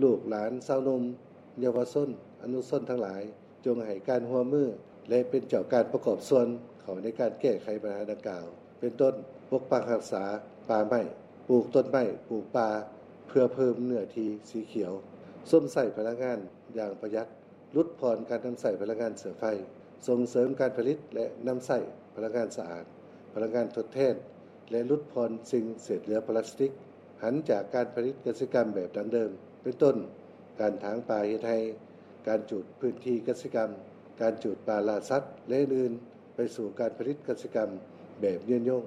ລູກຫຼານຊາວໜຸ່ມ ເຍົາວະຊົນ ອະນຸຊົນທັງຫຼາຍ ຈົ່ງໃຫ້ການຮ່ວມມື ແລະ ເປັນເຈົ້າການປະກອບສ່ວນເຂົ້າໃນການແກ້ໄຂບັນຫາດັ່ງກ່າວ ເປັນຕົ້ນ ປົກປັກຮັກສາປ່າໄມ້, ປູກຕົ້ນໄມ້, ປູກປ່າ ເພື່ອເພີ່ມເນື້ອທີ່ສີຂຽວ, ຊົມໃຊ້ພະລັງງານຢ່າງປະຢັດ, ຫຼຸດຜ່ອນການນຳໃຊ້ພະລັງງານເຊື້ອໄຟ, ສົ່ງເສີມການຜະລິດ ແລະ ນຳໃຊ້ພະລັງງານສະອາດ, ພະລັງງານທົດແທນ ແລະ ຫຼຸດຜ່ອນສິ່ງເສດເຫຼືອພລາສຕິກ, ຫັນຈາກການຜະລິດກະສິກຳແບບດັ້ງເດີມ ເປັນຕົ້ນ ການຖາງປ່າເຮັດໄຮ່, ການຈູດພື້ນທີ່ກະສິກຳ, ການຈູດປ່າລ່າສັດ ແລະ ອື່ນໆ ໄປສູ່ການຜະລິດກະສິກຳແບບຍືນຍົງ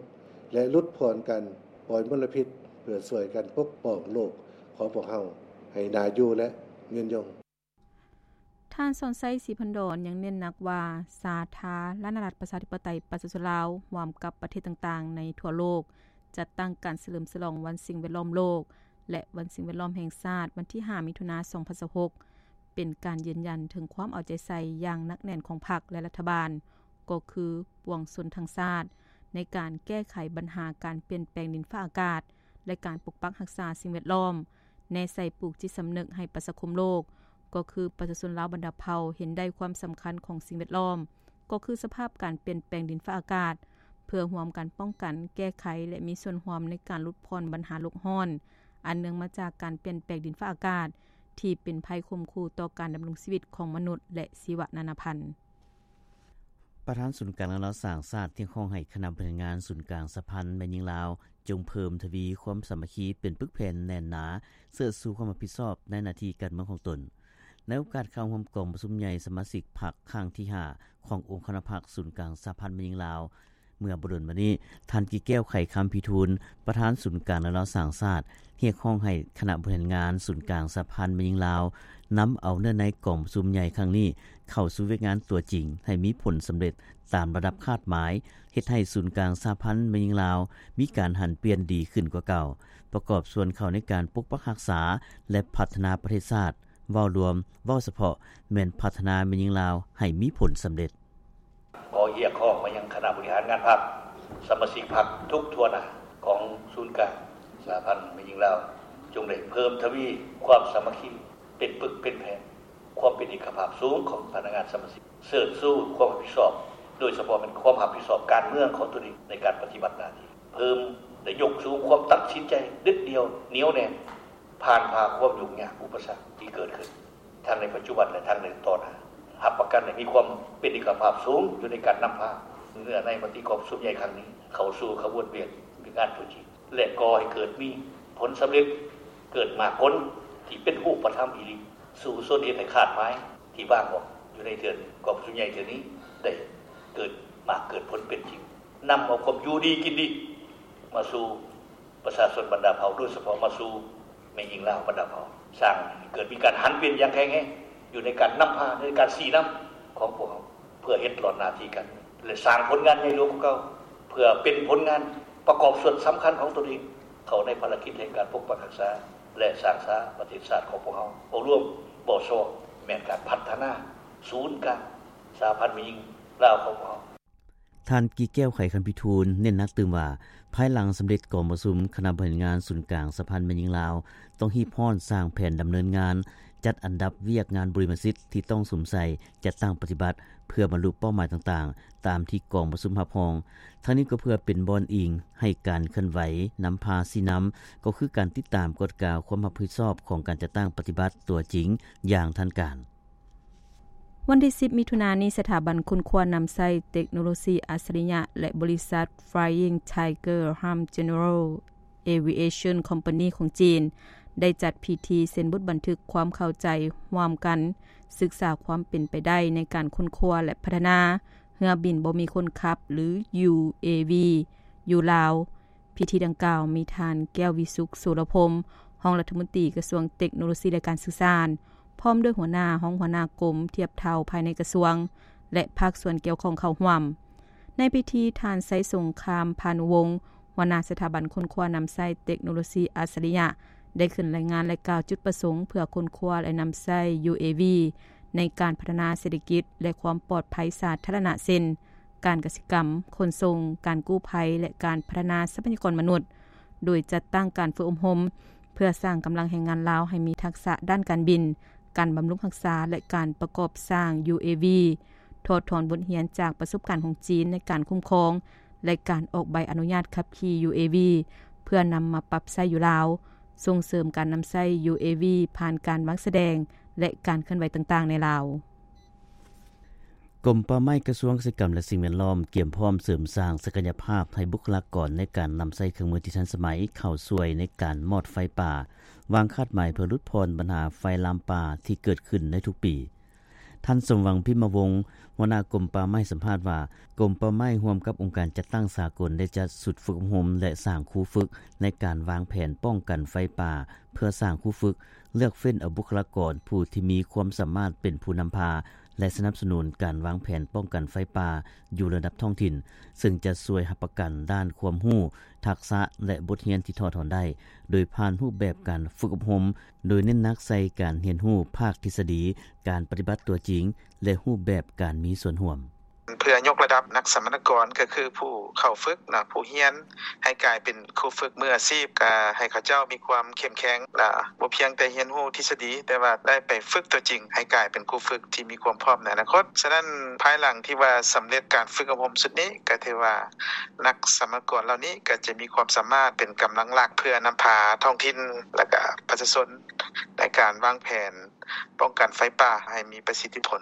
ແລະ ຫຼຸດຜ່ອນການປ່ອຍມົນລະພິດ ເພື່ອຊ່ວຍກັນປົກປ້ອງໂລກຂອງພວກເຮົາໃຫ້ໜ້າຢູ່ ແລະ ຍືນຍົງ. ທ່ານ ສອນໄຊ ສີພັນດອນ ຍັງເນັ້ນໜັກວ່າ ສາທາລະນະລັດ ປະຊາທິປະໄຕ ປະຊາຊົນລາວ ຮ່ວມກັບປະເທດຕ່າງໆ ໃນທົ່ວໂລກ ຈັດຕັ້ງການສະເຫຼີມສະຫຼອງວັນສິ່ງແວດລ້ອມໂລກ ແລະ ວັນສິ່ງແວດລ້ອມແຫ່ງຊາດ ວັນທີຫ້າ ມິຖຸນາ ສອງພັນຊາວຫົກ ເປັນການຢືນຢັນເຖິງຄວາມເອົາໃຈໃສ່ຢ່າງໜັກແໜ້ນຂອງພັກ ແລະ ລັດຖະບານ ກໍຄືປວງຊົນທັງຊາດ ໃນການແກ້ໄຂບັນຫາການປ່ຽນແປງດິນຟ້າອາກາດ ແລະ ການປົກປັກຮັກສາສິ່ງແວດລ້ອມ, ແນໃສ່ປູກຈິດສຳນຶກໃຫ້ປະຊາຄົມໂລກ ກໍຄືປະຊາຊົນລາວບັນດາເຜົ່າ ເຫັນໄດ້ຄວາມສຳຄັນຂອງສິ່ງແວດລ້ອມ ກໍຄືສະພາບການປ່ຽນແປງດິນຟ້າອາກາດ ເພື່ອຮ່ວມກັນປ້ອງກັນ, ແກ້ໄຂ ແລະ ມີສ່ວນຮ່ວມໃນການຫຼຸດຜ່ອນບັນຫາໂລກຮ້ອນ ອັນເນື່ອງມາຈາກການປ່ຽນແປງດິນຟ້າອາກາດ ທີ່ເປັນໄພຂົ່ມຂູ່ຕໍ່ການດຳລົງຊີວິດຂອງມະນຸດ ແລະ ຊີວະນານາພັນ. ປະທານສູນກາງລາວສ້າງຊາດ ຮຽກຮ້ອງໃຫ້ຄະນະບໍລິຫານງານສູນກາງສະຫະພັນແມ່ຍິງລາວ ຈົ່ງເພີ່ມທະວີຄວາມສາມັກຄີ ເປັນປຶກແຜ່ນແໜ້ນໜາ ເຊີດຊູຄວາມຮັບຜິດຊອບໃນໜ້າທີ່ການເມືອງຂອງຕົນ. ໃນໂອກາດເຂົ້າຮ່ວມກອງປະຊຸມໃຫຍ່ສະມາຊິກພັກຄັ້ງທີຫ້າ ຂອງອົງຄະນະພັກສູນກາງສະຫະພັນແມ່ຍິງລາວ ເມື່ອບໍ່ດົນມານີ້, ທ່ານ ກີແກ້ວ ໄຂຄຳພິທູນ ປະທານສູນກາງລາວສ້າງຊາດ ຮຽກຮ້ອງໃຫ້ຄະນະບໍລິຫານງານສູນກາງສະຫະພັນແມ່ຍິງລາວ ນຳເອົາເນື້ອໃນກອງປະຊຸມໃຫຍ່ຄັ້ງນີ້ ເຂົ້າສູ່ວຽກງານຕົວຈິງ ໃຫ້ມີຜົນສຳເລັດຕາມລະດັບຄາດໝາຍ, ເຮັດໃຫ້ສູນກາງສະຫະພັນແມ່ຍິງລາວ ມີການຫັນປ່ຽນດີຂຶ້ນກວ່າເກົ່າ, ປະກອບສ່ວນເຂົ້າໃນການປົກປັກຮັກສາ ແລະ ພັດທະນາປະເທດຊາດ. ເວົ້າລວມ, ເວົ້າສະເພາະ ແມ່ນພັດທະນາແມ່ຍິງລາວໃຫ້ມີຜົນສຳເລັດ. ຂໍຮຽກຮ້ອງມາຍັງຄະນະບໍລິຫານງານພັກ, ສະມາຊິກພັກທຸກທົ່ວໜ້າຂອງສູນກາງສະຫະພັນແມ່ຍິງລາວ ຈົ່ງໄດ້ເພີ່ມທະວີຄວາມສາມັກຄີ, ເປັນປຶກເປັນແຜ່ນ, ຄວາມເປັນເອກະພາບສູງຂອງພະນັກງານສະມາຊິກ, ເຊີດຊູຄວາມຮັບຜິດຊອບ, ໂດຍສະເພາະແມ່ນຄວາມຮັບຜິດຊອບການເມືອງຂອງຕົນເອງໃນການປະຕິບັດໜ້າທີ່, ເພີ່ມໄດ້ຍົກສູງຄວາມຕັດສິນໃຈເດັດດ່ຽວ, ໜຽວແໜ້ນ, ຜ່ານຜ່າຄວາມຫຍຸ້ງຍາກອຸປະສັກທີ່ເກີດຂຶ້ນ ທັງໃນປັດຈຸບັນ ແລະ ທັງໃນຕໍ່ໜ້າ, ຮັບປະກັນໃຫ້ມີຄວາມເປັນເອກະພາບສູງຢູ່ໃນການນຳພາເນື້ອໃນມະຕິກອງປະຊຸມໃຫຍ່ຄັ້ງນີ້ ເຂົ້າສູ່ຂະບວນວຽກງານຕົວຈິງ ແລະ ກໍ່ໃຫ້ເກີດມີຜົນສຳເລັດ, ເກີດໝາກຜົນທີ່ເປັນຮູບປະທຳອີ່ຫຼີ, ສູ້ຊົນເຮັດໃຫ້ຄາດໝາຍທີ່ວາງອອກຢູ່ໃນເທື່ອ ກອງປະຊຸມໃຫຍ່ເທື່ອນີ້ ໄດ້ເກີດໝາກເກີດຜົນເປັນຈິງ, ນຳເອົາຄວາມຢູ່ດີກິນດີມາສູ່ ປະຊາຊົນບັນດາເຜົ່າ, ໂດຍສະເພາະມາສູ່ແມ່ຍິງລາວບັນດາເຜົ່າ, ສ້າງໃຫ້ເກີດມີການຫັນປ່ຽນຢ່າງແຂງແຮງຢູ່ໃນການນຳພາ, ໃນການຊີ້ນຳຂອງພວກເຮົາ, ເພື່ອເຮັດຫຼອດໜ້າທີ່ກັນ ແລະ ສ້າງຜົນງານໃຫຍ່ຫຼວງກວ່າເກົ່າ, ເພື່ອເປັນຜົນງານປະກອບສ່ວນສຳຄັນຂອງຕົນເອງ ເຂົ້າໃນພາລະກິດແຫ່ງການປົກປັກຮັກສາ ແລະ ສ້າງສາປະເທດຊາດຂອງພວກເຮົາ. ເວົ້າລວມ, ເວົ້າຊອກ, ແມ່ນການພັດທະນາສູນກາງສະຫະພັນແມ່ຍິງລາວຂອງພວກເຮົາ. ທ່ານ ກີແກ້ວ ໄຂຄຳພິທູນ ເນັ້ນໜັກຕື່ມວ່າ ພາຍຫຼັງສຳເລັດກອງປະຊຸມຄະນະບໍລິຫານງານສູນກາງສະຫະພັນແມ່ຍິງລາວ ຕ້ອງຮີບຮ້ອນສ້າງແຜນດຳເນີນງານ, ຈັດອັນດັບວຽກງານບຸລິມະສິດທີ່ຕ້ອງສຸມໃສ່, ຈັດຕັ້ງປະຕິບັດ ເພື່ອບັນລຸເປົ້າໝາຍຕ່າງໆ ຕາມທີ່ກອງປະຊຸມຮັບຮອງ. ທັງນີ້ກໍເພື່ອເປັນບ່ອນອີງໃຫ້ການເຄື່ອນໄຫວນຳພາຊີ້ນຳ, ກໍຄືການຕິດຕາມກວດກາຄວາມຮັບຜິດຊອບຂອງການຈັດຕັ້ງປະຕິບັດຕົວຈິງຢ່າງທັນການ. ວັນທີສິບ ມິຖຸນານີ້, ສະຖາບັນຄົ້ນຄວ້ານຳໃຊ້ເຕັກໂນໂລຊີອັດສະລິຍະ ແລະ ບໍລິສັດ Flying Tiger Ham General Aviation Company ຂອງຈີນ ໄດ້ຈັດພິທີເຊັນບົດບັນທຶກຄວາມເຂົ້າໃຈຮ່ວມກັນ, ສຶກສາຄວາມເປັນໄປໄດ້ໃນການຄົ້ນຄວ້າ ແລະ ພັດທະນາເຮືອບິນບໍ່ມີຄົນຂັບ ຫຼື UAV ຢູ່ລາວ. ພິທີດັ່ງກ່າວມີທ່ານ ແກ້ວວິສຸກ ໂສລະພົມ ຮອງລັດຖະມົນຕີກະຊວງເຕັກໂນໂລຊີ ແລະ ການສື່ສານ, ພ້ອມດ້ວຍຫົວໜ້າ, ຮອງຫົວໜ້າກົມທຽບເທົ່າພາຍໃນກະຊວງ ແລະ ພາກສ່ວນກ່ຽວຂ້ອງເຂົ້າຮ່ວມ. ໃນພິທີ, ທ່ານ ໄຊສົງຄາມ ພານຸວົງ ຫົວໜ້າສະຖາບັນຄົ້ນຄວ້ານຳໃຊ້ເຕັກໂນໂລຊີອັດສະລິຍະ ໄດ້ຂຶ້ນລາຍງານ ແລະ ກ່າວຈຸດປະສົງເພື່ອຄົ້ນຄວ້າ ແລະ ນຳໃຊ້ UAV ໃນການພັດທະນາເສດຖະກິດ ແລະ ຄວາມປອດໄພສາທາລະນະ ເຊັ່ນ ການກະສິກຳ, ຂົນສົ່ງ, ການກູ້ໄພ ແລະ ການພັດທະນາຊັບພະຍາກອນມະນຸດ, ໂດຍຈັດຕັ້ງການຝຶກອົບຮົມ ເພື່ອສ້າງກຳລັງແຮງງານລາວໃຫ້ມີທັກສະດ້ານການບິນ, ການບຳລຸງຮັກສາ ແລະ ການປະກອບສ້າງ UAV, ຖອດຖອນບົດຮຽນຈາກປະສົບການຂອງຈີນໃນການຄຸ້ມຄອງ ແລະ ການອອກໃບອະນຸຍາດຂັບຂີ່ UAV ເພື່ອນຳມາປັບໃຊ້ຢູ່ລາວ, ສົ່ງເສີມການນຳໃຊ້ UAV ຜ່ານການວາງສະແດງ ແລະ ການເຄື່ອນໄຫວຕ່າງໆໃນລາວ. ກົມປ່າໄມ້ ກະຊວງກະສິກຳ ແລະ ສິ່ງແວດລ້ອມ ກຽມພ້ອມເສີມສ້າງສັກກະຍະພາບໃຫ້ບຸກຄະລາກອນໃນການນຳໃຊ້ເຄື່ອງມືທີ່ທັນສະໄໝເຂົ້າຊ່ວຍໃນການມອດໄຟປ່າ, ວາງຄາດໝາຍເພື່ອຫຼຸດຜ່ອນບັນຫາໄຟລາມປ່າທີ່ເກີດຂຶ້ນໃນທຸກປີ. ທ່ານ ສົມຫວັງ ພິມມະວົງ ຫົວໜ້າກົມປ່າໄມ້ ໃຫ້ສຳພາດວ່າ ກົມປ່າໄມ້ຮ່ວມກັບອົງການຈັດຕັ້ງສາກົນ ໄດ້ຈັດຊຸດຝຶກອົບຮົມ ແລະ ສ້າງຄູຝຶກໃນການວາງແຜນປ້ອງກັນໄຟປ່າ ເພື່ອສ້າງຄູຝຶກ, ເລືອກເຟ້ນເອົາບຸກຄະລາກອນຜູ້ທີ່ມີຄວາມສາມາດເປັນຜູ້ນຳພາ ແລະ ສະໜັບສະໜູນການວາງແຜນປ້ອງກັນໄຟປ່າຢູ່ລະດັບທ້ອງຖິ່ນ, ເຊິ່ງຈະຊ່ວຍຮັບປະກັນດ້ານຄວາມຮູ້, ທັກສະ ແລະ ບົດຮຽນທີ່ຖອດຖອນໄດ້ ໂດຍຜ່ານຮູບແບບການຝຶກອົບຮົມ, ໂດຍເນັ້ນໜັກໃສ່ການຮຽນຮູ້ພາກທິດສະດີ, ການປະຕິບັດຕົວຈິງ ແລະ ຮູບແບບການມີສ່ວນຮ່ວມ. ເພື່ອຍົກລະດັບນັກສຳມະນາກອນ ກໍຄືຜູ້ເຂົ້າຝຶກນະ, ຜູ້ຮຽນ ໃຫ້ກາຍເປັນຄູຝຶກມືອາຊີບ, ກະໃຫ້ເຂົາເຈົ້າມີຄວາມເຂັ້ມແຂງ, ລະບໍ່ພຽງແຕ່ຮຽນຮູ້ທິດສະດີ, ແຕ່ວ່າໄດ້ໄປຝຶກຕົວຈິງ ໃຫ້ກາຍເປັນຄູຝຶກທີ່ມີຄວາມພ້ອມໃນອະນາຄົດ. ສະນັ້ນ, ພາຍຫຼັງທີ່ວ່າສຳເລັດການຝຶກອົບຮົມຊຸດນີ້, ກໍຖືວ່ານັກສຳມະນາກອນເຫຼົ່ານີ້ ກໍຈະມີຄວາມສາມາດເປັນກຳລັງຫຼັກ ເພື່ອນຳພາທ້ອງຖິ່ນ ແລະ ກະປະຊາຊົນ ໃນການວາງແຜນປ້ອງກັນໄຟປ່າໃຫ້ມີປະສິດທິຜົນ.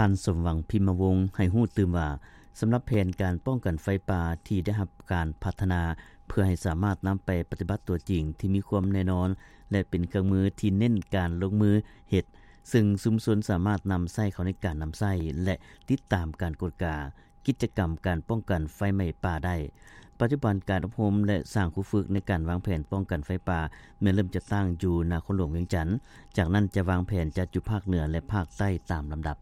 ທ່ານ ສົມຫວັງ ພິມມະວົງ ໃຫ້ຮູ້ຕື່ມວ່າ ສຳລັບແຜນການປ້ອງກັນໄຟປ່າທີ່ໄດ້ຮັບການພັດທະນາ ເພື່ອໃຫ້ສາມາດນຳໄປປະຕິບັດຕົວຈິງທີ່ມີຄວາມແນ່ນອນ ແລະ ເປັນເຄື່ອງມືທີ່ເນັ້ນການລົງມືເຮັດ, ເຊິ່ງຊຸມຊົນສາມາດນຳໃຊ້ເຂົ້າໃນການນຳໃຊ້ ແລະ ຕິດຕາມການກວດກາ ກິດຈະກຳການປ້ອງກັນໄຟໄໝ້ປ່າໄດ້. ປັດຈຸບັນການອົບຮົມ ແລະ ສ້າງຄູຝຶກໃນການວາງແຜນປ້ອງກັນໄຟປ່າ ແມ່ນເລີ່ມຈັດຕັ້ງຢູ່ນະຄອນຫຼວງວຽງຈັນ, ຈາກນັ້ນຈະວາງແຜນຈັດຢູ່ພາກເໜືອ ແລະ ພາກໃຕ້ຕາມລຳດັບ.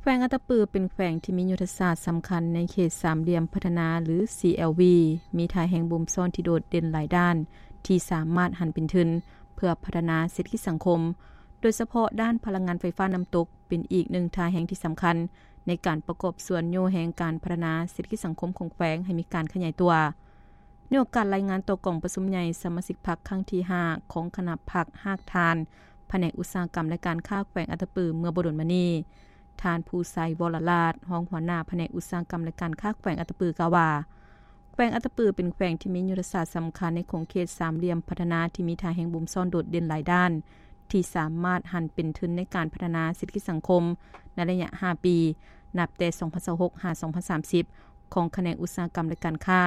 ແຂວງອັດຕະປືເປັນແຂວງທີ່ມີຍຸດທະສາດສຳຄັນໃນເຂດສາມຫຼ່ຽມພັດທະນາ ຫຼື CLV, ມີທ່າແຮງບົ່ມຊ້ອນທີ່ໂດດເດັ່ນຫຼາຍດ້ານ ທີ່ສາມາດຫັນເປັນທຶນເພື່ອພັດທະນາເສດຖະກິດສັງຄົມ, ໂດຍສະເພາະດ້ານພະລັງງານໄຟຟ້ານ້ຳຕົກ ເປັນອີກໜຶ່ງທ່າແຮງທີ່ສຳຄັນໃນການປະກອບສ່ວນໂຍແຮງການພັດທະນາເສດຖະກິດສັງຄົມຂອງແຂວງໃຫ້ມີການຂະຫຍາຍຕົວ. ໃນໂອກາດລາຍງານຕໍ່ກອງປະຊຸມໃຫຍ່ສະມາຊິກພັກຄັ້ງທີຫ້າ ຂອງຄະນະພັກຮາກຖານ ພະແນກອຸດສາຫະກຳ ແລະ ການຄ້າແຂວງອັດຕະປືເມື່ອບໍ່ດົນມານີ້, ທ່ານ ພູໄຊ ວໍລະລາດ ຮອງຫົວໜ້າພະແນກອຸດສາຫະກຳ ແລະ ການຄ້າແຂວງອັດຕະປື ກ່າວວ່າ ແຂວງອັດຕະປືເປັນແຂວງທີ່ມີຍຸດທະສາດສຳຄັນໃນຂົງເຂດສາມຫຼ່ຽມພັດທະນາທີ່ມີທ່າແຮງບົ່ມຊ້ອນໂດດເດັ່ນຫຼາຍດ້ານ ທີ່ສາມາດຫັນເປັນທຶນໃນການພັດທະນາເສດຖະກິດສັງຄົມໃນໄລຍະຫ້າປີ ນັບແຕ່ສອງພັນຊາວຫົກ ຫາ ສອງພັນສາມສິບ ຂອງຂະແໜງອຸດສາຫະກຳ ແລະ ການຄ້າ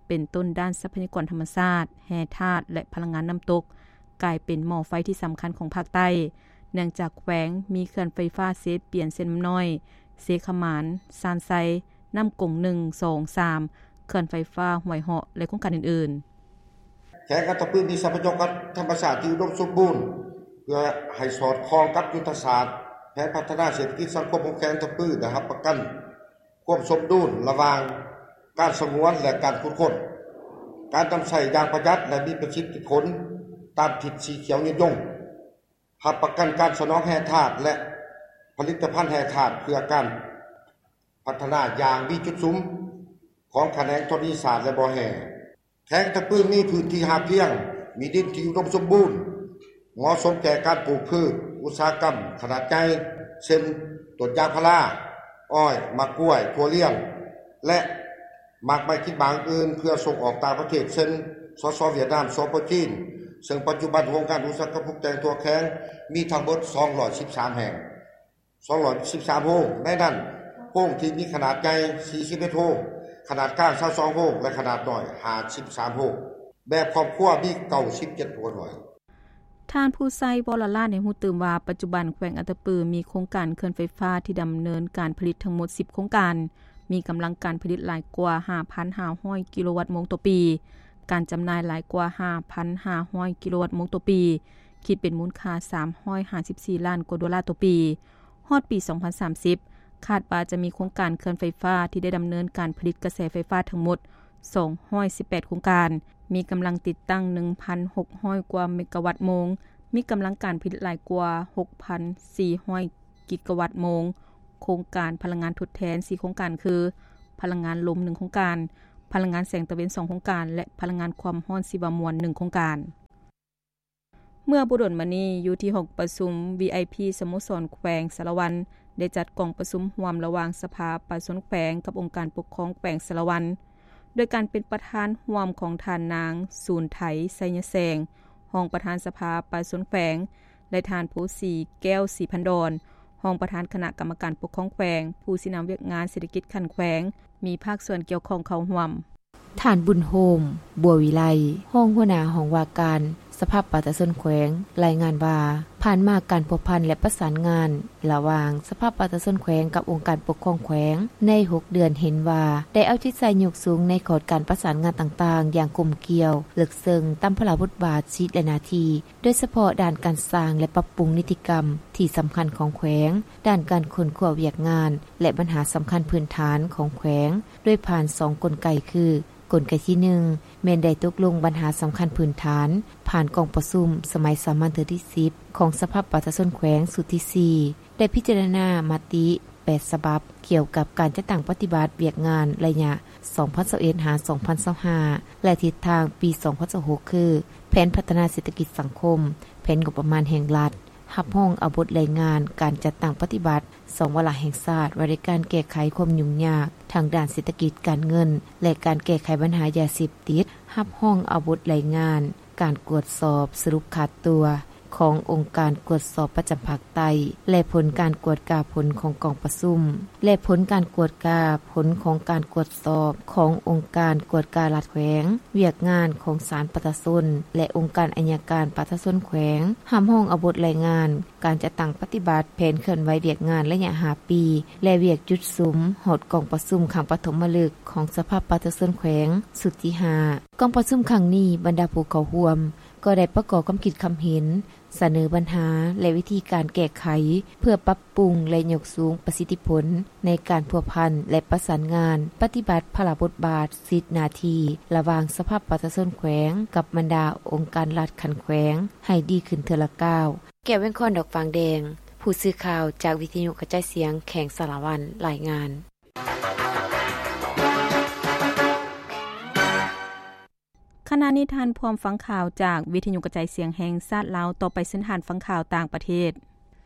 ເປັນຕົ້ນດ້ານຊັບພະຍາກອນທຳມະຊາດ, ແຮ່ທາດ ແລະ ພະລັງງານນ້ຳຕົກ ກາຍເປັນໝໍ້ໄຟທີ່ສຳຄັນຂອງພາກໃຕ້ ເນື່ອງຈາກແຂວງມີເຂື່ອນໄຟຟ້າເຊປຽນ, ເຊນ້ຳນ້ອຍ, ເຊຂະໝານ, ຊານໄຊ, ນ້ຳກົງ ໜຶ່ງ ສອງ ສາມ, ເຂື່ອນໄຟຟ້າຫ້ວຍເຫາະ ແລະ ໂຄງການອື່ນໆ. ແຂວງອັດຕະປືມີຊັບພະຍາກອນທຳມະຊາດທີ່ອຸດົມສົມບູນ ເພື່ອໃຫ້ສອດຄ່ອງກັບຍຸດທະສາດແຜນພັດທະນາເສດຖະກິດສັງຄົມຂອງແຂວງອັດຕະປື ໄດ້ຮັບປະກັນຄວາມສົມດຸນລະຫວ່າງການສະຫງວນ ແລະ ການຂຸດຄົ້ນ, ການນຳໃຊ້ຢ່າງປະຢັດ ແລະ ມີປະສິດທິຜົນຕາມທິດສີຂຽວຍືນຍົງ, ຮັບປະກັນການສະໜອງແຮ່ທາດ ແລະ ຜະລິດຕະພັນແຮ່ທາດເພື່ອການ ພັດທະນາຢ່າງມີຈຸດສຸມຂອງຂະແໜງທໍລະນີສາດ ແລະ ບໍ່ແຮ່. ແຂວງອັດຕະປືມີພື້ນທີ່ຮາບພຽງ, ມີດິນທີ່ອຸດົມສົມບູນ, ເໝາະສົມແກ່ການປູກພືດອຸດສາຫະກຳຂະໜາດໃຫຍ່ ເຊັ່ນ ຕົ້ນຢາງພາລາ, ອ້ອຍ, ໝາກກ້ວຍ, ຖົ່ວລຽນ ແລະ ໝາກໄມ້ກິນໝາກອື່ນໆ ເພື່ອສົ່ງອອກຕ່າງປະເທດ ເຊັ່ນ ສສ ຫວຽດນາມ, ສປ ຈີນ, ເຊິ່ງປັດຈຸບັນໂຮງງານອຸດສາຫະກຳປຸງແຕ່ງທົ່ວແຂວງມີທັງໝົດສອງຮ້ອຍສິບສາມແຫ່ງ. ສອງຮ້ອຍສິບສາມໂຮງ, ໃນນັ້ນໂຮງທີ່ມີຂະໜາດໃຫຍ່ສີ່ສິບເອັດໂຮງ, ຂະໜາດກາງຊາວສອງໂຮງ ແລະ ຂະໜາດນ້ອຍຫ້າສິບສາມໂຮງ, ແບບຄອບຄົວມີເກົ້າສິບເຈັດຄົວໜ່ວຍ. ທ່ານ ພູໄຊ ວໍລະລາດ ໃຫ້ຮູ້ຕື່ມວ່າ ປັດຈຸບັນແຂວງອັດຕະປືມີໂຄງການເຂື່ອນໄຟຟ້າທີ່ດຳເນີນການຜະລິດທັງໝົດສິບໂຄງການ, ມີກຳລັງການຜະລິດຫຼາຍກວ່າຫ້າພັນຫ້າຮ້ອຍກິໂລວັດໂມງຕໍ່ປີ, ການຈຳໜ່າຍຫຼາຍກວ່າຫ້າພັນຫ້າຮ້ອຍກິໂລວັດໂມງຕໍ່ປີ, ຄິດເປັນມູນຄ່າສາມຮ້ອຍຫ້າສິບສີ່ລ້ານກວ່າໂດລາຕໍ່ປີ. ຮອດປີສອງພັນສາມສິບ ຄາດວ່າຈະມີໂຄງການເຂື່ອນໄຟຟ້າທີ່ໄດ້ດຳເນີນການຜະລິດກະແສໄຟຟ້າທັງໝົດສອງຮ້ອຍສິບແປດໂຄງການ, ມີກຳລັງຕິດຕັ້ງໜຶ່ງພັນຫົກຮ້ອຍກວ່າເມກາວັດໂມງ, ມີກຳລັງການຜະລິດຫຼາຍກວ່າຫົກພັນສີ່ຮ້ອຍກິກາວັດໂມງ, ໂຄງການພະລັງງານທົດແທນສີ່ໂຄງການຄື ພະລັງງານລົມໜຶ່ງໂຄງການ, ພະລັງງານແສງຕາເວັນສອງໂຄງການ ແລະ ພະລັງງານຄວາມຮ້ອນຊີວະມວນໜຶ່ງໂຄງການ. ເມື່ອບໍ່ດົນມານີ້ ຢູ່ທີ່ຫ້ອງປະຊຸມ ວີໄອພີ ສະໂມສອນແຂວງສາລະວັນ ໄດ້ຈັດກອງປະຊຸມຮ່ວມລະຫວ່າງສະພາປະຊາຊົນແຂວງກັບອົງການປົກຄອງແຂວງສາລະວັນ ໂດຍການເປັນປະທານຮ່ວມຂອງທ່ານນາງ ສູນໄທ ໄຊຍະແສງ ຮອງປະທານສະພາປະຊາຊົນແຂວງ ແລະ ທ່ານ ພູສີ ແກ້ວສີພັນດອນ ຮອງປະທານຄະນະກຳມະການປົກຄອງແຂວງ, ຜູ້ຊີ້ນຳວຽກງານເສດຖະກິດຂັ້ນແຂວງ, ມີພາກສ່ວນກ່ຽວຂ້ອງເຂົ້າຮ່ວມ. ທ່ານ ບຸນໂຮມ ບົວວິໄລ ຮອງຫົວໜ້າຫ້ອງວ່າການສະພາປະຊາຊົນແຂວງ ລາຍງານວ່າ ຜ່ານມາການພົວພັນ ແລະ ປະສານງານລະຫວ່າງສະພາປະຊາຊົນແຂວງກັບອົງການປົກຄອງແຂວງໃນຫົກເດືອນ ເຫັນວ່າໄດ້ເອົາໃຈໃສ່ຍົກສູງໃນຂອດການປະສານງານຕ່າງໆຢ່າງກົມກ່ຽວ, ເລິກເຊິ່ງຕາມພາລະບົດບາດ, ສິດ ແລະ ໜ້າທີ່ ໂດຍສະເພາະດ້ານການສ້າງ ແລະ ປັບປຸງນິຕິກຳທີ່ສຳຄັນຂອງແຂວງ, ດ້ານການຄົ້ນຄວ້າວຽກງານ ແລະ ບັນຫາສຳຄັນພື້ນຖານຂອງແຂວງ ໂດຍຜ່ານສອງກົນໄກຄື ກົນໄກທີໜຶ່ງ ແມ່ນໄດ້ຕົກລົງບັນຫາສຳຄັນພື້ນຖານ ຜ່ານກອງປະຊຸມສະໄໝສາມັນເທື່ອທີສິບ ຂອງສະພາປະຊາຊົນແຂວງຊຸດທີສີ່ ໄດ້ພິຈາລະນາມະຕິແປດສະບັບ ກ່ຽວກັບການຈັດຕັ້ງປະຕິບັດວຽກງານໄລຍະສອງພັນຊາວເອັດ ຫາ ສອງພັນຊາວຫ້າ ແລະ ທິດທາງປີສອງພັນຊາວຫົກ ຄື ແຜນພັດທະນາເສດຖະກິດສັງຄົມ, ແຜນງົບປະມານແຫ່ງລັດ, ຮັບຮອງເອົາບົດລາຍງານການຈັດຕັ້ງປະຕິບັດສອງວາລະແຫ່ງຊາດ ວ່າດ້ວຍການແກ້ໄຂຄວາມຫຍຸ້ງຍາກທາງດ້ານເສດຖະກິດການເງິນ ແລະ ການແກ້ໄຂບັນຫາຢາເສບຕິດ, ຮັບຮອງເອົາບົດລາຍງານ ການກວດສອບສະຫຼຸບຂາດຕົວຂອງອົງການກວດສອບປະຈຳພາກໃຕ້ ແລະ ຜົນການກວດກາຜົນຂອງກອງປະຊຸມ ແລະ ຜົນການກວດກາຜົນຂອງການກວດສອບຂອງອົງການກວດກາລັດແຂວງ, ວຽກງານຂອງສານປະຊາຊົນ ແລະ ອົງການໄອຍະການປະຊາຊົນແຂວງ, ຮັບຮອງເອົາບົດລາຍງານການຈັດຕັ້ງປະຕິບັດແຜນເຄື່ອນໄຫວວຽກງານໄລຍະຫ້າປີ ແລະ ວຽກຈຸດສຸມຮອດກອງປະຊຸມຄັ້ງປະຖົມມະລຶກຂອງສະພາປະຊາຊົນແຂວງຊຸດທີຫ້າ. ກອງປະຊຸມຄັ້ງນີ້ ບັນດາຜູ້ເຂົ້າຮ່ວມກໍໄດ້ປະກອບຄຳຄິດຄຳເຫັນ, ສະເໜີບັນຫາ ແລະ ວິທີການແກ້ໄຂ ເພື່ອປັບປຸງ ແລະ ຍົກສູງປະສິດທິຜົນໃນການພົວພັນ ແລະ ປະສານງານປະຕິບັດພາລະບົດບາດ, ສິດ, ໜ້າທີ່ລະຫວ່າງສະພາປະຊາຊົນແຂວງກັບບັນດາອົງການລັດຂັ້ນແຂວງໃຫ້ດີຂຶ້ນເທື່ອລະກ້າວ. ແກ້ວ ແວງຄອນ ດອກຟາງແດງ, ຜູ້ສື່ຂ່າວຈາກວິທະຍຸກະຈາຍສຽງແຂວງສາລະວັນ ລາຍງານ. ຂະນະນີ້ທ່ານພ້ອມຟັງຂ່າວຈາກວິທະຍຸກະຈາຍສຽງແຫ່ງຊາດລາວ, ຕໍ່ໄປເຊີນທ່ານຟັງຂ່າວຕ່າງປະເທດ.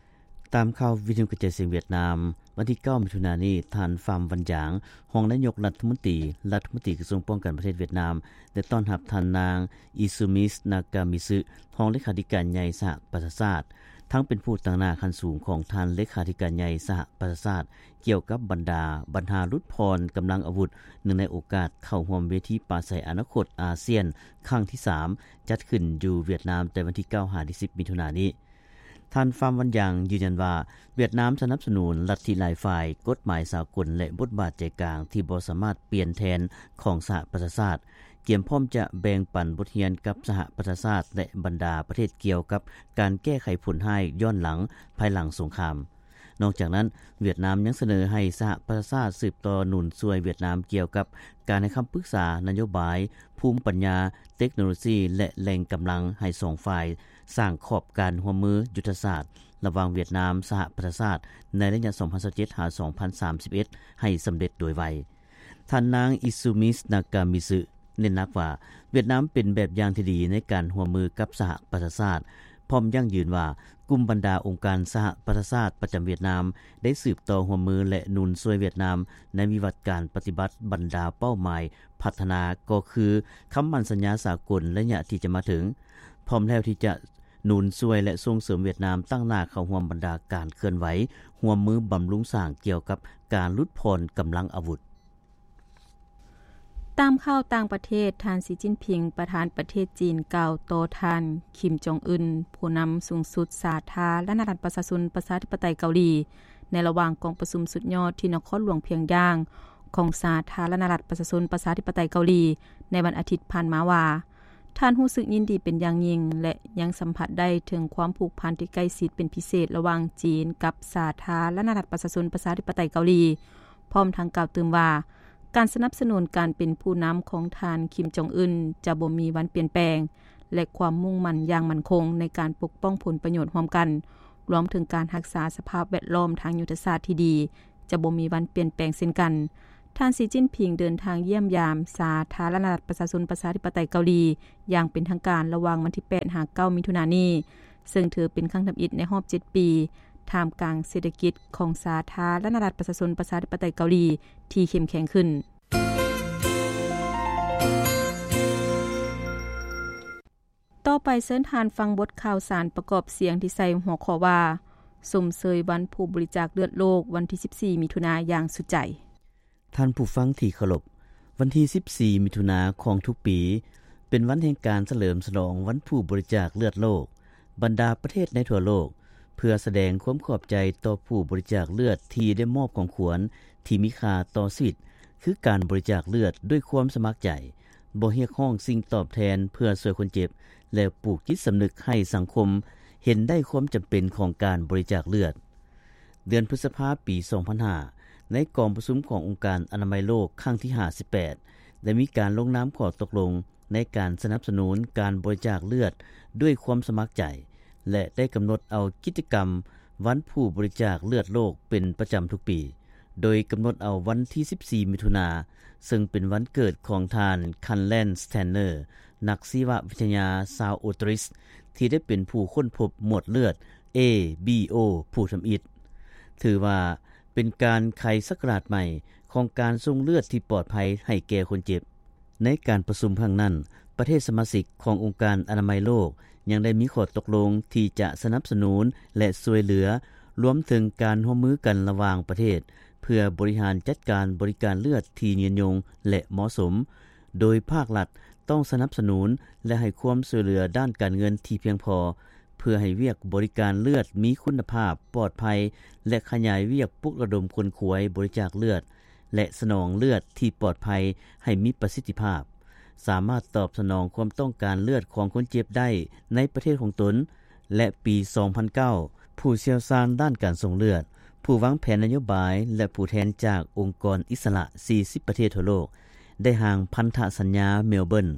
ຕາມຂ່າວວິທະຍຸກະຈາຍສຽງຫວຽດນາມ, ວັນທີເກົ້າ ມິຖຸນານີ້, ທ່ານ ຟາມ ວັນຢາງ ຮອງນາຍົກລັດຖະມົນຕີ, ລັດຖະມົນຕີກະຊວງປ້ອງກັນປະເທດຫວຽດນາມ ໄດ້ຕ້ອນຮັບທ່ານນາງ ອີຊູມິສ ນາກາມິຊຶ ຮອງເລຂາທິການໃຫຍ່ສະຫະປະຊາຊາດ, ທັງເປັນຜູ້ຕາງໜ້າຂັ້ນສູງຂອງທ່ານເລຂາທິການໃຫຍ່ສະຫະປະຊາຊາດ ກ່ຽວກັບບັນດາບັນຫາຫຼຸດຜ່ອນກຳລັງອາວຸດ ເນື່ອງໃນໂອກາດເຂົ້າຮ່ວມເວທີປາໄສອະນາຄົດອາຊຽນຄັ້ງທີສາມ ຈັດຂຶ້ນຢູ່ຫວຽດນາມແຕ່ວັນທີເກົ້າ ຫາ ທີສິບ ມິຖຸນານີ້. ທ່ານ ຟາມ ວັນຢາງ ຢືນຢັນວ່າ ຫວຽດນາມສະໜັບສະໜູນລັດທິຫຼາຍຝ່າຍ, ກົດໝາຍສາກົນ ແລະ ບົດບາດໃຈກາງທີ່ບໍ່ສາມາດປ່ຽນແທນຂອງສະຫະປະຊາຊາດ, ກຽມພ້ອມຈະແບ່ງປັນບົດຮຽນກັບສະຫະປະຊາຊາດ ແລະ ບັນດາປະເທດກ່ຽວກັບການແກ້ໄຂຜົນຮ້າຍຍ້ອນຫຼັງ ພາຍຫຼັງສົງຄາມ. ນອກຈາກນັ້ນ, ຫວຽດນາມຍັງສະເໜີໃຫ້ສະຫະປະຊາຊາດສືບຕໍ່ໜູນຊ່ວຍຫວຽດນາມກ່ຽວກັບການໃຫ້ຄຳປຶກສານະໂຍບາຍ, ພູມປັນຍາ, ເຕັກໂນໂລຊີ ແລະ ແຫຼ່ງກຳລັງໃຫ້ສອງຝ່າຍສ້າງຂອບການຮ່ວມມືຍຸດທະສາດລະຫວ່າງຫວຽດນາມ-ສະຫະປະຊາຊາດໃນໄລຍະສອງພັນຊາວເຈັດ ຫາ ສອງພັນສາມສິບເອັດ ໃຫ້ສຳເລັດໂດຍໄວ. ທ່ານນາງ ອີຊູມິສ ນາກາມິຊຶ ເນັ້ນໜັກວ່າ ຫວຽດນາມເປັນແບບຢ່າງທີ່ດີໃນການຮ່ວມມືກັບສະຫະປະຊາຊາດ, ພ້ອມຢັ້ງຢືນວ່າ ກຸ່ມບັນດາອົງການສະຫະປະຊາຊາດປະຈຳຫວຽດນາມ ໄດ້ສືບຕໍ່ຮ່ວມມື ແລະ ໜູນຊ່ວຍຫວຽດນາມໃນວິວັດການປະຕິບັດບັນດາເປົ້າໝາຍພັດທະນາ ກໍຄືຄຳໝັ້ນສັນຍາສາກົນໄລຍະທີ່ຈະມາເຖິງ, ພ້ອມແລ້ວທີ່ຈະໜູນຊ່ວຍ ແລະ ສົ່ງເສີມຫວຽດນາມຕັ້ງໜ້າເຂົ້າຮ່ວມບັນດາການເຄື່ອນໄຫວຮ່ວມມືບຳລຸງສ້າງກ່ຽວກັບການຫຼຸດຜ່ອນກຳລັງອາວຸດ. ຕາມຂ່າວຕ່າງປະເທດ, ທ່ານ ສີຈິ້ນຜິງ ປະທານປະເທດຈີນ ກ່າວຕໍ່ທ່ານ ຄິມ ຈອງອຶນ ຜູ້ນຳສູງສຸດສາທາລະນະລັດປະຊາຊົນປະຊາທິປະໄຕເກົາຫຼີ ໃນລະຫວ່າງກອງປະຊຸມສຸດຍອດທີ່ນະຄອນຫຼວງພຽງຢາງ ຂອງສາທາລະນະລັດປະຊາຊົນປະຊາທິປະໄຕເກົາຫຼີ ໃນວັນອາທິດຜ່ານມາວ່າ ທ່ານຮູ້ສຶກຍິນດີເປັນຢ່າງຍິ່ງ ແລະ ຍັງສຳຜັດໄດ້ເຖິງຄວາມຜູກພັນທີ່ໃກ້ຊິດເປັນພິເສດລະຫວ່າງຈີນກັບສາທາລະນະລັດປະຊາຊົນປະຊາທິປະໄຕເກົາຫຼີ. ພ້ອມທັງກ່າວຕື່ມວ່າ ການສະໜັບສະໜູນການເປັນຜູ້ນຳຂອງທ່ານ ຄິມ ຈອງອຶນ ຈະບໍ່ມີວັນປ່ຽນແປງ ແລະ ຄວາມມຸ່ງໝັ້ນຢ່າງໝັ້ນຄົງໃນການປົກປ້ອງຜົນປະໂຫຍດຮ່ວມກັນ, ລວມເຖິງການຮັກສາສະພາບແວດລ້ອມທາງຍຸດທະສາດທີ່ດີ ຈະບໍ່ມີວັນປ່ຽນແປງເຊັ່ນກັນ. ທ່ານ ສີ ຈິ້ນຜິງ ເດີນທາງຢ້ຽມຢາມ ສາທາລະນະລັດ ປະຊາຊົນ ປະຊາທິປະໄຕ ເກົາຫຼີ ຢ່າງເປັນທາງການ ລະຫວ່າງວັນທີ ແປດ ຫາ ເກົ້າ ມິຖຸນານີ້, ເຊິ່ງຖືເປັນຄັ້ງທຳອິດ ໃນຮອບ ເຈັດ ປີ ທ່າມກາງເສດຖະກິດ ຂອງສາທາລະນະລັດ ປະຊາຊົນ ປະຊາທິປະໄຕ ເກົາຫຼີ ທີ່ເຂັ້ມແຂງຂຶ້ນ. ຕໍ່ໄປເຊີນທ່ານຟັງບົດຂ່າວສານປະກອບສຽງທີ່ໃສ່ຫົວຂໍ້ວ່າ ຊົມເຊີຍວັນຜູ້ບໍລິຈາກເລືອດໂລກ ວັນທີ ສິບສີ່ ມິຖຸນາ ຢ່າງສຸດໃຈ. ທ່ານຜູ້ຟັງທີ່ເຄົາລົບ, ວັນທີ ສິບສີ່ ມິຖຸນາຂອງທຸກປີ ເປັນວັນແຫ່ງການສະເຫຼີມສະຫຼອງວັນຜູ້ບໍລິຈາກເລືອດໂລກ. ບັນດາປະເທດໃນທົ່ວໂລກ ເພື່ອສະແດງຄວາມຂອບໃຈຕໍ່ຜູ້ບໍລິຈາກເລືອດທີ່ໄດ້ມອບຂອງຂວັນທີ່ມີຄ່າຕໍ່ຊີວິດ ຄືການບໍລິຈາກເລືອດດ້ວຍຄວາມສະໝັກໃຈ, ບໍ່ຮຽກຮ້ອງສິ່ງຕອບແທນເພື່ອຊ່ວຍຄົນເຈັບ ແລະ ປູກຈິດສຳນຶກໃຫ້ສັງຄົມເຫັນໄດ້ຄວາມຈຳເປັນຂອງການບໍລິຈາກເລືອດ. ເດືອນພຶດສະພາ ປີ ສອງພັນຫ້າ ໃນກອງປະຊຸມຂອງອົງການອະນາໄມໂລກຄັ້ງທີ ຫ້າສິບແປດ ໄດ້ມີການລົງນາມຂໍ້ຕົກລົງ ໃນການສະໜັບສະໜູນການບໍລິຈາກເລືອດດ້ວຍຄວາມສະໝັກໃຈ ແລະ ໄດ້ກຳນົດເອົາກິດຈະກຳວັນຜູ້ບໍລິຈາກເລືອດໂລກເປັນປະຈຳທຸກປີ, ໂດຍກຳນົດເອົາວັນທີ ສິບສີ່ ມິຖຸນາ ເຊິ່ງເປັນວັນເກີດຂອງທ່ານ ຄັນແລນ ສະແຕນເນີ ນັກຊີວະວິທະຍາຊາວອົດຕະຣິສ ທີ່ໄດ້ເປັນຜູ້ຄົ້ນພົບໝວດເລືອດ A B O ຜູ້ທຳອິດ. ຖືວ່າເປັນການໄຂສັກກະລາດໃໝ່ຂອງການສົ່ງເລືອດທີ່ປອດໄພໃຫ້ແກ່ຄົນເຈັບ. ໃນການປະຊຸມຄັ້ງນັ້ນ, ປະເທດສະມາຊິກຂອງອົງການອະນາໄມໂລກ ຍັງໄດ້ມີຂໍ້ຕົກລົງທີ່ຈະສະໜັບສະໜູນ ແລະ ຊ່ວຍເຫຼືອ, ລວມເຖິງການຮ່ວມມືກັນລະຫວ່າງປະເທດ ເພື່ອບໍລິຫານຈັດການບໍລິການເລືອດທີ່ຍືນຍົງ ແລະ ເໝາະສົມ, ໂດຍພາກລັດຕ້ອງສະໜັບສະໜູນ ແລະ ໃຫ້ຄວາມຊ່ວຍເຫຼືອດ້ານການເງິນທີ່ພຽງພໍ ເພື່ອໃຫ້ວຽກບໍລິການເລືອດມີຄຸນນະພາບ, ປອດໄພ ແລະ ຂະຫຍາຍວຽກປຸກລະດົມຂົນຂວາຍບໍລິຈາກເລືອດ ແລະ ສະໜອງເລືອດທີ່ປອດໄພໃຫ້ມີປະສິດທິພາບ, ສາມາດຕອບສະໜອງຄວາມຕ້ອງການເລືອດຂອງຄົນເຈັບໄດ້ໃນປະເທດຂອງຕົນ, ແລະ ປີສອງພັນເກົ້າ ຜູ້ຊ່ຽວຊານດ້ານການສົ່ງເລືອດ, ຜູ້ວາງແຜນນະໂຍບາຍ ແລະ ຜູ້ແທນຈາກອົງກອນອິດສະຫຼະ ສີ່ສິບ ປະເທດທົ່ວໂລກ ໄດ້ຮ່າງພັນທະສັນຍາເມລເບີນ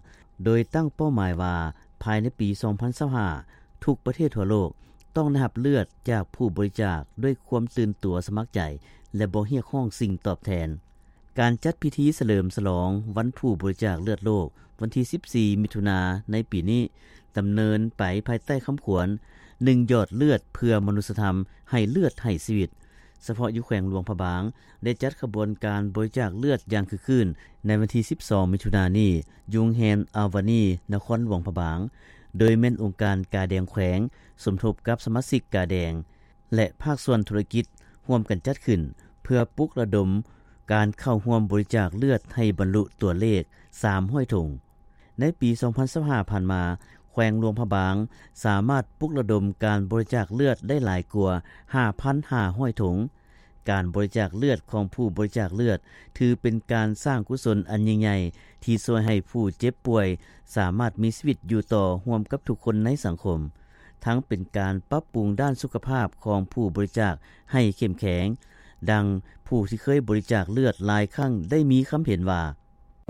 ໂດຍຕັ້ງເປົ້າໝາຍວ່າ ພາຍໃນປີສອງພັນຊາວຫ້າ ທຸກປະເທດທົ່ວໂລກຕ້ອງໄດ້ຮັບເລືອດຈາກຜູ້ບໍລິຈາກດ້ວຍຄວາມຕື່ນຕົວສະໝັກໃຈ ແລະ ບໍ່ຮຽກຮ້ອງສິ່ງຕອບແທນ. ການຈັດພິທີສະເຫຼີມສະຫຼອງວັນຜູ້ບໍລິຈາກເລືອດໂລກ ວັນທີ ສິບສີ່ ມິຖຸນາ ໃນປີນີ້ ດຳເນີນໄປພາຍໃຕ້ຄຳຂວັນ ໜຶ່ງ ຫຍອດເລືອດເພື່ອມະນຸດສະທຳ ໃຫ້ເລືອດໃຫ້ຊີວິດ. ສະເພາະຢູ່ແຂວງຫຼວງພະບາງ ໄດ້ຈັດຂະບວນການບໍລິຈາກເລືອດຢ່າງຄຶກຄື້ນ ໃນວັນທີ ສິບສອງ ມິຖຸນານີ້ ຢູ່ໂຮງແຮມອາວານີ ນະຄອນຫຼວງພະບາງ, ໂດຍແມ່ນອົງການກາແດງແຂວງ ສົມທົບກັບສະມາຊິກກາແດງ ແລະ ພາກສ່ວນທຸລະກິດ ຮ່ວມກັນຈັດຂຶ້ນ ເພື່ອປຸກລະດົມການເຂົ້າຮ່ວມບໍລິຈາກເລືອດໃຫ້ບັນລຸຕົວເລກ ສາມຮ້ອຍ ຖົງ. ໃນປີສອງພັນຊາວຫ້າ ຜ່ານມາ, ແຂວງຫຼວງພະບາງ ສາມາດປຸກລະດົມການບໍລິຈາກເລືອດໄດ້ຫຼາຍກວ່າ ຫ້າພັນຫ້າຮ້ອຍ ຖົງ. ການບໍລິຈາກເລືອດຂອງຜູ້ບໍລິຈາກເລືອດ ຖືເປັນການສ້າງກຸສົນອັນຍິ່ງໃຫຍ່ ທີ່ຊ່ວຍໃຫ້ຜູ້ເຈັບປ່ວຍສາມາດມີຊີວິດຢູ່ຕໍ່ຮ່ວມກັບທຸກຄົນໃນສັງຄົມ, ທັງເປັນການປັບປຸງດ້ານສຸຂະພາບຂອງຜູ້ບໍລິຈາກໃຫ້ເຂັ້ມແຂງ. ດັ່ງຜູ້ທີ່ເຄີຍບໍລິຈາກເລືອດຫຼາຍຄັ້ງໄດ້ມີຄຳເຫັນວ່າ: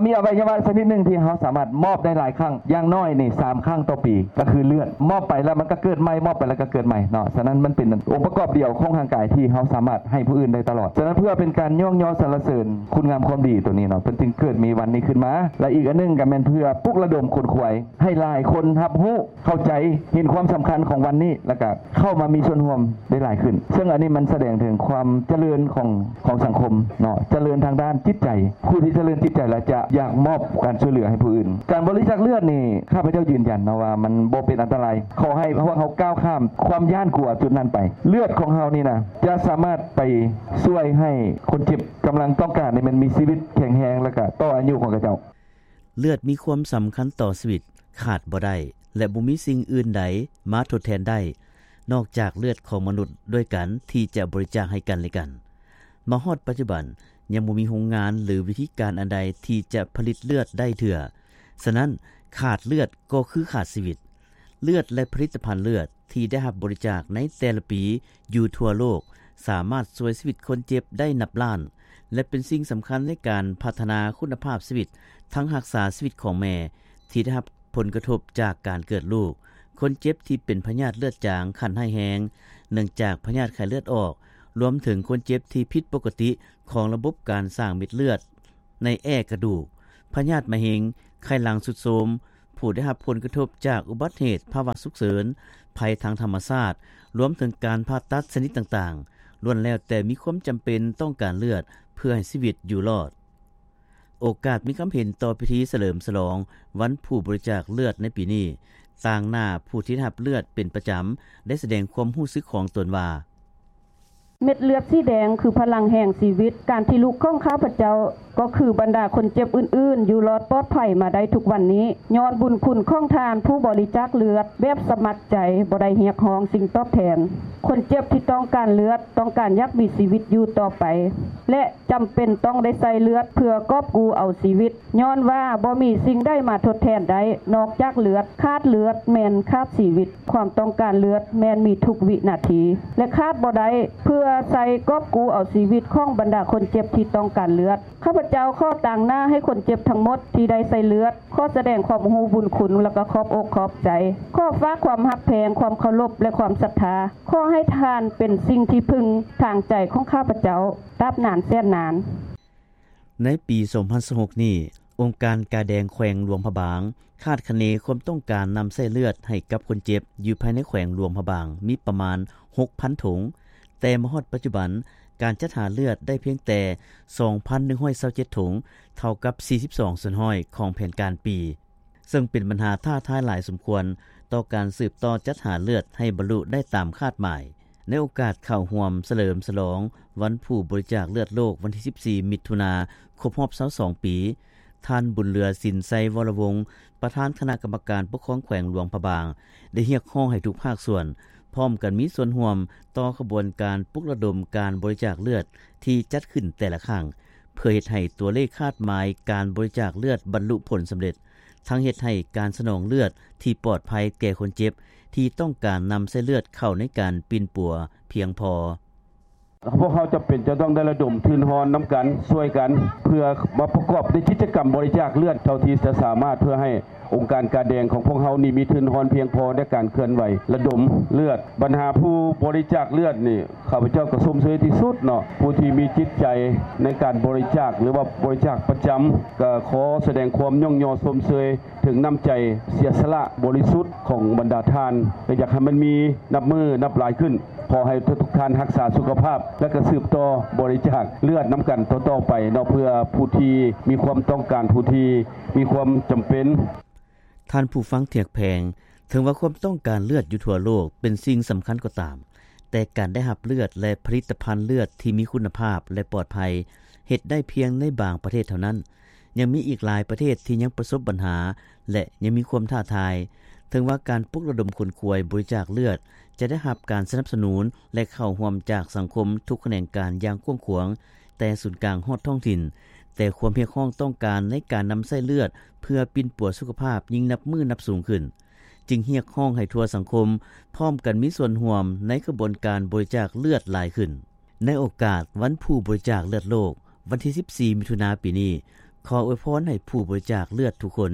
ມີອະໄວຍະວະຊະນິດໜຶ່ງທີ່ເຮົາສາມາດມອບໄດ້ຫຼາຍຄັ້ງ, ຢ່າງໜ້ອຍນີ້ ສາມຄັ້ງຕໍ່ປີ ກໍຄືເລືອດ. ມອບໄປແລ້ວມັນກໍເກີດໃໝ່, ມອບໄປແລ້ວກໍເກີດໃໝ່ເນາະ. ສະນັ້ນມັນເປັນອົງປະກອບດຽວຂອງຮ່າງກາຍທີ່ເຮົາສາມາດໃຫ້ຜູ້ອື່ນໄດ້ຕະຫຼອດ. ສະນັ້ນເພື່ອເປັນການຍ້ອງຍໍສັນລະເສີນຄຸນງາມຄວາມດີຕົວນີ້ເນາະ, ເພິ່ນຈຶ່ງເກີດມີວັນນີ້ຂຶ້ນມາ. ແລະ ອີກອັນໜຶ່ງກໍແມ່ນເພື່ອປຸກລະດົມຂົນຂວາຍໃຫ້ຫຼາຍຄົນຮັບຮູ້ ເຂົ້າໃຈ ເຫັນຄວາມສຳຄັນຂອງວັນນີ້ ແລ້ວກະເຂົ້າມາມີສ່ວນຮ່ວມໄດ້ຫຼາຍຂຶ້ນ. ເຊິ່ງອັນນີ້ມັນສະແດງເຖິງຄວາມຈະເລີນຂອງ ຂອງສັງຄົມເນາະ, ຈະເລີນທາງດ້ານຈິດໃຈ. ຜູ້ທີ່ຈະເລີນຈິດໃຈແລ້ວຈະຢາກມອບການຊ່ວຍເຫຼືອໃຫ້ຜູ້ອື່ນ. ການບໍລິຈາກເລືອດນີ້ ຂ້າພະເຈົ້າຢືນຢັນເນາະວ່າມັນບໍ່ເປັນອັນຕະລາຍ. ຂໍໃຫ້ພວກເຮົາກ້າວຂ້າມຄວາມຢ້ານກົວຈຸດນັ້ນໄປ. ເລືອດຂອງເຮົານີ້ນະ ຈະສາມາດໄປຊ່ວຍໃຫ້ຄົນເຈັບກຳລັງຕ້ອງການນີ້ ມັນມີຊີວິດແຂງແຮງ ແລ້ວກະຕໍ່ອາຍຸຂອງເຂົາເຈົ້າ. ເລືອດມີຄວາມສຳຄັນຕໍ່ຊີວິດ, ຂາດບໍ່ໄດ້ ແລະ ບໍ່ມີສິ່ງອື່ນໃດມາທົດແທນໄດ້ ນອກຈາກເລືອດຂອງມະນຸດດ້ວຍກັນທີ່ຈະບໍລິຈາກໃຫ້ກັນແລະກັນ. ມາຮອດປັດຈຸບັນ ຍັງບໍ່ມີໂຮງງານ ຫຼື ວິທີການອັນໃດທີ່ຈະຜະລິດເລືອດໄດ້ເທື່ອ. ສະນັ້ນ, ຂາດເລືອດກໍຄືຂາດຊີວິດ. ເລືອດ ແລະ ຜະລິດຕະພັນເລືອດ ທີ່ໄດ້ຮັບບໍລິຈາກໃນແຕ່ລະປີຢູ່ທົ່ວໂລກ ສາມາດຊ່ວຍຊີວິດຄົນເຈັບໄດ້ນັບລ້ານ ແລະ ເປັນສິ່ງສຳຄັນໃນການພັດທະນາຄຸນນະພາບຊີວິດ ທັງຮັກສາຊີວິດຂອງແມ່ທີ່ໄດ້ຮັບຜົນກະທົບຈາກການເກີດລູກ, ຄົນເຈັບທີ່ເປັນພະຍາດເລືອດຈາງຂັ້ນຮ້າຍແຮງ ເນື່ອງຈາກພະຍາດໄຂ້ເລືອດອອກ, ລວມເຖິງຄົນເຈັບທີ່ຜິດປົກກະຕິຂອງລະບົບການສ້າງເມັດເລືອດ ໃນແອກະດູກ, ພະຍາດມະເຮັງ, ໄຂ້ຫຼັງຊຸດໂຊມ, ຜູ້ໄດ້ຮັບຜົນກະທົບຈາກອຸບັດເຫດ, ພາວະສຸກເສີນ, ໄພທາງທຳມະຊາດ, ລວມເຖິງການຜ່າຕັດຊະນິດຕ່າງໆ, ລ້ວນແລ້ວແຕ່ມີຄວາມຈຳເປັນຕ້ອງການເລືອດເພື່ອໃຫ້ຊີວິດຢູ່ລອດ. ໂອກາດມີຄຳເຫັນຕໍ່ພິທີສະເຫຼີມສະຫຼອງວັນຜູ້ບໍລິຈາກເລືອດໃນປີນີ້, ຕາງໜ້າຜູ້ທີ່ໄດ້ຮັບເລືອດເປັນປະຈຳ ໄດ້ສະແດງຄວາມຮູ້ສຶກຂອງຕົນວ່າ: ເມັດເລືອດສີແດງຄືພະລັງແຫ່ງຊີວິດ. ການທີ່ລູກຂອງຂ້າພະເຈົ້າກໍຄືບັນດາຄົນເຈັບອື່ນໆ ຢູ່ລອດປອດໄພມາໄດ້ທຸກວັນນີ້ ຍ້ອນບຸນຄຸນຂອງທ່ານຜູ້ບໍລິຈາກເລືອດແບບສະໝັກໃຈ, ບໍ່ໄດ້ຮຽກຮ້ອງສິ່ງຕອບແທນ. ຄົນເຈັບທີ່ຕ້ອງການເລືອດ ຕ້ອງການຢາກມີຊີວິດຢູ່ຕໍ່ໄປ ແລະ ຈຳເປັນຕ້ອງໄດ້ໃສ່ເລືອດເພື່ອກອບກູ້ເອົາຊີວິດ, ຍ້ອນວ່າບໍ່ມີສິ່ງໃດມາທົດແທນໄດ້ນອກຈາກເລືອດ. ຂາດເລືອດແມ່ນຂາດຊີວິດ. ຄວາມຕ້ອງການເລືອດແມ່ນມີທຸກວິນາທີ ແລະ ຂາດບໍ່ໄດ້ ເພື່ອໃສ່ກອບກູ້ເອົາຊີວິດຂອງບັນດາຄົນເຈັບທີ່ຕ້ອງການເລືອດ. ຂ້າພະເຈົ້າຂໍຕາງໜ້າໃຫ້ຄົນເຈັບທັງໝົດທີ່ໄດ້ໃສ່ເລືອດ ຂໍສະແດງຄວາມຮູ້ບຸນຄຸນ ແລະ ກໍຂອບອົກຂອບໃຈ. ຂໍຝາກຄວາມຮັກແພງ, ຄວາມເຄົາລົບ ແລະ ຄວາມສັດທາ. ຂໍໃຫ້ທ່ານເປັນສິ່ງທີ່ເພິ່ງທາງໃຈຂອງຂ້າພະເຈົ້າ ຕາບນານແສນນານ. ໃນປີສອງພັນຊາວຫົກນີ້, ອົງການກາແດງແຂວງຫຼວງພະບາງ ຄາດຄະເນຄວາມຕ້ອງການນຳໃຊ້ເລືອດໃຫ້ກັບຄົນເຈັບຢູ່ພາຍໃນແຂວງຫຼວງພະບາງມີປະມານຫົກພັນຖົງ, ແຕ່ມາຮອດປັດຈຸບັນ, ການຈັດຫາເລືອດໄດ້ພຽງແຕ່ສອງພັນໜຶ່ງຮ້ອຍຊາວເຈັດຖົງ, ເທົ່າກັບສີ່ສິບສອງສ່ວນຮ້ອຍຂອງແຜນການປີ. ເຊິ່ງເປັນບັນຫາທ້າທາຍຫຼາຍສົມຄວນຕໍ່ການສືບຕໍ່ຈັດຫາເລືອດໃຫ້ບັນລຸໄດ້ຕາມຄາດໝາຍ. ໃນໂອກາດເຂົ້າຮ່ວມສະເຫຼີມສະຫຼອງວັນຜູ້ບໍລິຈາກເລືອດໂລກວັນທີສິບສີ່ ມິຖຸນາ ຄົບຮອບຊາວສອງປີ, ທ່ານ ບຸນເຫຼືອ ສິນໄຊວໍລະວົງ ປະທານຄະນະກຳມະການປົກຄອງແຂວງຫຼວງພະບາງ ໄດ້ຮຽກຮ້ອງໃຫ້ທຸກພາກສ່ວນພ້ອມກັນມີສ່ວນຮ່ວມຕໍ່ຂະບວນການປຸກລະດົມການບໍລິຈາກເລືອດທີ່ຈັດຂຶ້ນແຕ່ລະຄັ້ງ ເພື່ອເຮັດໃຫ້ຕົວເລກຄາດໝາຍການບໍລິຈາກເລືອດບັນລຸຜົນສຳເລັດ. ທັງເຮັດໃຫ້ການສະໜອງເລືອດທີ່ປອດໄພແກ່ຄົນເຈັບທີ່ຕ້ອງການນຳໃຊ້ເລືອດເຂົ້າໃນການປິ່ນປົວພຽງພໍ. ພວກເຮົາຈຳເປັນຈະຕ້ອງໄດ້ລະດົມທຶນຮອນນຳກັນ, ຊ່ວຍກັນ, ເພື່ອມາປະກອບໃນກິດຈະກຳບໍລິຈາກເລືອດເທົ່າທີ່ຈະສາມາດ, ເພື່ອໃຫ້ອົງການກາແດງຂອງພວກເຮົານີ້ມີທຶນຮອນພຽງພໍໃນການເຄື່ອນໄຫວລະດົມເລືອດ. ບັນຫາຜູ້ບໍລິຈາກເລືອດນີ້ ຂ້າພະເຈົ້າກໍຊົມເຊີຍທີ່ສຸດເນາະ, ຜູ້ທີ່ມີຈິດໃຈໃນການບໍລິຈາກ ຫຼືວ່າບໍລິຈາກປະຈຳ, ກໍຂໍສະແດງຄວາມຍ້ອງຍໍຊົມເຊີຍເຖິງນ້ຳໃຈເສຍສະຫຼະບໍລິສຸດຂອງບັນດາທ່ານ, ແລະ ຢາກໃຫ້ມັນມີນັບມື້ນັບຫຼາຍຂຶ້ນ. ຂໍໃຫ້ທຸກໆທ່ານຮັກສາສຸຂະພາບ ແລະ ກໍສືບຕໍ່ບໍລິຈາກເລືອດນຳກັນຕໍ່ໆໄປເນາະ, ເພື່ອຜູ້ທີ່ມີຄວາມຕ້ອງການ, ຜູ້ທີ່ມີຄວາມຈຳເປັນ. ທ່ານຜູ້ຟັງທີ່ຮັກແພງ, ເຖິງວ່າຄວາມຕ້ອງການເລືອດຢູ່ທົ່ວໂລກເປັນສິ່ງສຳຄັນກໍຕາມ, ແຕ່ການໄດ້ຮັບເລືອດ ແລະ ຜະລິດຕະພັນເລືອດທີ່ມີຄຸນນະພາບ ແລະ ປອດໄພ ເຮັດໄດ້ພຽງໃນບາງປະເທດເທົ່ານັ້ນ. ຍັງມີອີກຫຼາຍປະເທດທີ່ຍັງປະສົບບັນຫາ ແລະ ຍັງມີຄວາມທ້າທາຍ. ເຖິງວ່າການປຸກລະດົມຂົນຂວາຍບໍລິຈາກເລືອດຈະໄດ້ຮັບການສະໜັບສະໜູນ ແລະ ເຂົ້າຮ່ວມຈາກສັງຄົມທຸກຂະແໜງການຢ່າງກວ້າງຂວາງ, ແຕ່ສູນກາງຮອດທ້ອງຖິ່ນ, ແຕ່ຄວາມຮຽກຮ້ອງຕ້ອງການໃນການນຳໃຊ້ເລືອດເພື່ອປິ່ນປົວສຸຂະພາບຍິ່ງນັບມື້ນັບສູງຂຶ້ນ, ຈຶ່ງຮຽກຮ້ອງໃຫ້ທົ່ວສັງຄົມພ້ອມກັນມີສ່ວນຮ່ວມໃນຂະບວນການບໍລິຈາກເລືອດຫຼາຍຂຶ້ນ. ໃນໂອກາດວັນຜູ້ບໍລິຈາກເລືອດໂລກ ວັນທີສິບສີ່ ມິຖຸນາປີນີ້, ຂໍອວຍພອນໃຫ້ຜູ້ບໍລິຈາກເລືອດທຸກຄົນ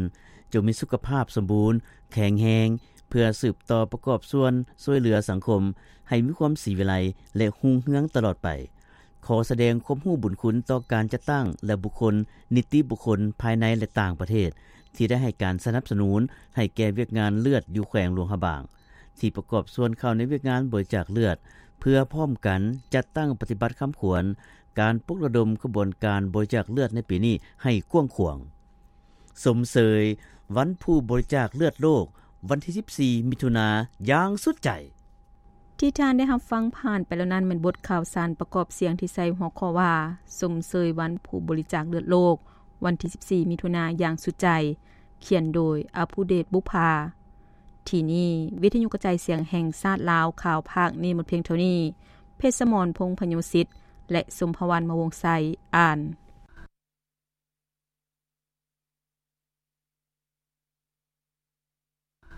ຈົ່ງມີສຸຂະພາບສົມບູນ, ແຂງແຮງ, ເພື່ອສືບຕໍ່ປະກອບສ່ວນຊ່ວຍເຫຼືອສັງຄົມໃຫ້ມີຄວາມສີວິໄລ ແລະ ຮຸ່ງເຮືອງຕະຫຼອດໄປ. ຂໍສະແດງຄວາມຮູ້ບຸນຄຸນຕໍ່ການຈັດຕັ້ງ ແລະ ບຸກຄົນ, ນິຕິບຸກຄົນພາຍໃນ ແລະ ຕ່າງປະເທດ ທີ່ໄດ້ໃຫ້ການສະໜັບສະໜູນໃຫ້ແກ່ວຽກງານເລືອດຢູ່ແຂວງຫຼວງພະບາງ ທີ່ປະກອບສ່ວນເຂົ້າໃນວຽກງານບໍລິຈາກເລືອດ ເພື່ອພ້ອມກັນຈັດຕັ້ງປະຕິບັດຄຳຂວັນການປຸກລະດົມຂະບວນການບໍລິຈາກເລືອດໃນປີນີ້ໃຫ້ກວ້າງຂວາງ. ຊົມເຊີຍວັນຜູ້ບໍລິຈາກເລືອດໂລກ ວັນທີສິບສີ່ ມິຖຸນາຢ່າງສຸດໃຈ. ທີ່ທ່ານໄດ້ຮັບຟັງຜ່ານໄປແລ້ວນັ້ນ ແມ່ນບົດຂ່າວສານປະກອບສຽງທີ່ໃສ່ຫົວຂໍ້ວ່າ ຊົມເຊີຍວັນຜູ້ບໍລິຈາກເລືອດໂລກ ວັນທີສິບສີ່ ມິຖຸນາຢ່າງສຸດໃຈ, ຂຽນໂດຍ ອະພູເດດ ບຸບພາ. ທີ່ນີ້ ວິທະຍຸກະຈາຍສຽງແຫ່ງຊາດລາວ ຂ່າວພາກນີ້ໝົດພຽງເທົ່ານີ້. ເພັດສະໝອນ ພົງພະໂຍສິດ ແລະ ສົມພະວັນ ມະວົງໄຊ ອ່ານ.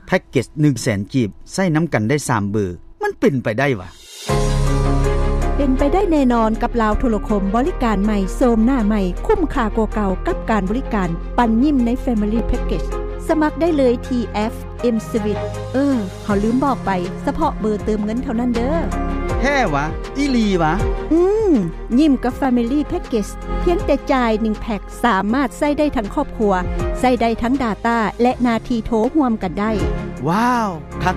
ແພັກເກັດໜຶ່ງແສນກີບ ໃຊ້ນຳກັນໄດ້ສາມເບີ ມັນເປັນໄປໄດ້ຫວາ? ເປັນໄປໄດ້ແນ່ນອນກັບລາວໂທລະຄົມ ບໍລິການໃໝ່ ໂສມໜ້າໃໝ່ ຄຸ້ມຄ່າກວ່າເກົ່າກັບການບໍລິການປັນຍິ້ມໃນ Family Package. ສະໝັກໄດ້ເລີຍທີ່ແອັບ M-Switch. ເອີ ເຮົາລືມບອກໄປ, ສະເພາະເບີເຕີມເງິນເທົ່ານັ້ນເດີ້. ແທ້ຫວາ? ອີ່ຫຼີຫວາ? ອືມ, ຍິ້ມກັບ Family Package ພຽງແຕ່ຈ່າຍໜຶ່ງແພັກ ສາມາດໃຊ້ໄດ້ທັງຄອບຄົວ, ໃຊ້ໄດ້ທັງ Data ແລະ ໜ້າທີ່ໂທຮ່ວມກັນໄດ້. ວ້າວ, ຄັກ